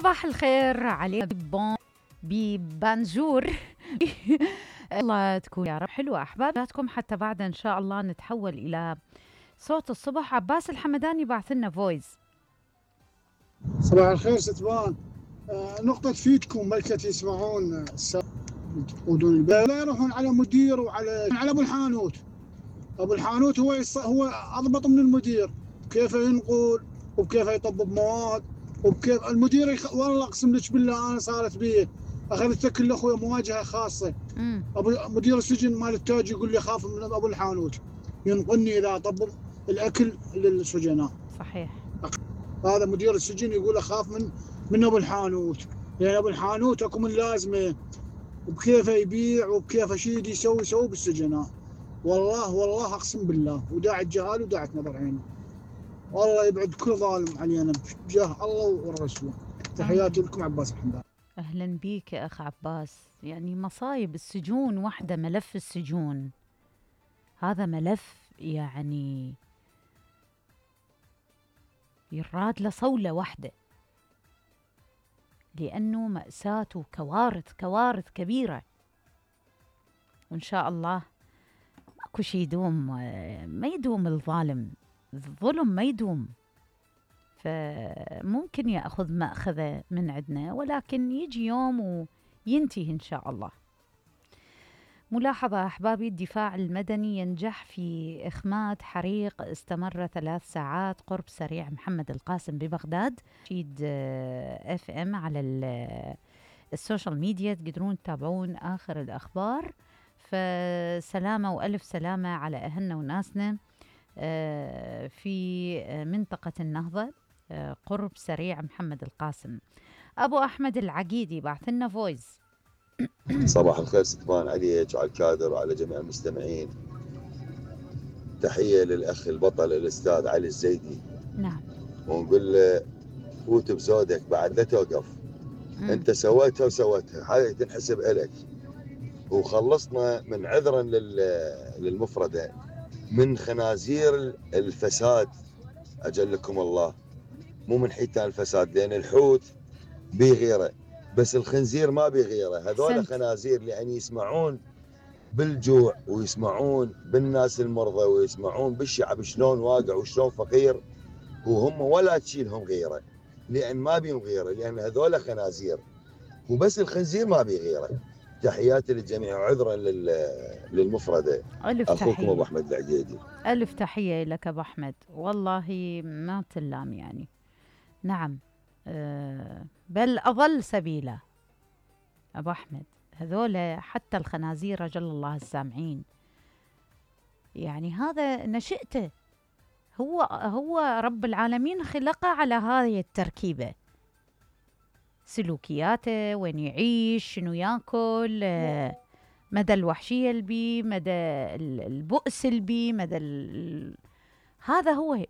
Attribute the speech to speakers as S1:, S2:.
S1: صباح الخير عليكم ببانجور. الله تكون يا رب حلوة أحبابكم حتى بعد إن شاء الله نتحول إلى صوت الصبح. عباس الحمداني بعث لنا فويس.
S2: صباح الخير ستبان. نقطة فيدكم ملكة يسمعون يقودون لا يروحون على مدير على أبو الحانوت. أبو الحانوت هو أضبط من المدير، كيف ينقل وكيف يطبب مواد وكيف المدير والله أقسم لك بالله أنا صارت بيه أخذت كل أخوي مواجهة خاصة. مدير السجن مال التاج يقول لي خاف من أبو الحانوت ينقلني إذا طبب الأكل للسجناء.
S1: صحيح.
S2: هذا مدير السجن يقول اخاف من ابو الحانوت، لان ابو الحانوت اكو من لازمه وبكيف يبيع وبكيف شيء يسوي بالسجناء. والله اقسم بالله وداعي الجهال وداعي نظر عيني. والله يبعد كل ظالم علينا بجاه الله والرسول. تحياتي لكم عباس الحمداني.
S1: اهلا بيك يا اخ عباس. يعني مصايب السجون وحده، ملف السجون هذا ملف يعني يراد له صولة واحدة، لأنه مأساة وكوارث كبيرة. وإن شاء الله أكو شي يدوم، ما يدوم الظلم ما يدوم، فممكن يأخذ مأخذه من عندنا، ولكن يجي يوم وينتهي إن شاء الله. ملاحظة أحبابي، الدفاع المدني ينجح في إخماد حريق استمر 3 ساعات قرب سريع محمد القاسم ببغداد. شيد FM على السوشيال ميديا تقدرون تتابعون آخر الأخبار. فسلامة وألف سلامة على أهلنا وناسنا في منطقة النهضة قرب سريع محمد القاسم. أبو أحمد العقيدي بعث لنا فويس.
S3: صباح الخير ستبان عليك وعلى الكادر وعلى جميع المستمعين. تحية للأخ البطل الأستاذ علي الزيدي.
S1: نعم.
S3: ونقول له فوت بزودك بعد لا توقف. أنت سويتها هاي تنحسب إلك. وخلصنا من عذرا للمفردة من خنازير الفساد أجلكم الله، مو من حيتان الفساد، لأن الحوت بيغيره بس الخنزير ما بيغيره. هذول خنازير لأن يسمعون بالجوع ويسمعون بالناس المرضى ويسمعون بالشعب شلون واقع وشلون فقير، وهم ولا تشيلهم غيره، لأن ما بيهم غيره، لأن هذول خنازير وبس الخنزير ما بيغيره. تحياتي للجميع وعذرا للمفردة. أخوكم أبو أحمد العقيدي.
S1: ألف تحية لك أبو أحمد، والله ما تلام يعني. نعم. بل أضل سبيلا أبو أحمد. هذول حتى الخنازير رجل الله السامعين، يعني هذا نشأته هو رب العالمين خلقه على هذه التركيبة، سلوكياته، وين يعيش، شنو ياكل، مدى الوحشية البي، مدى البؤس البي، مدى هذا هو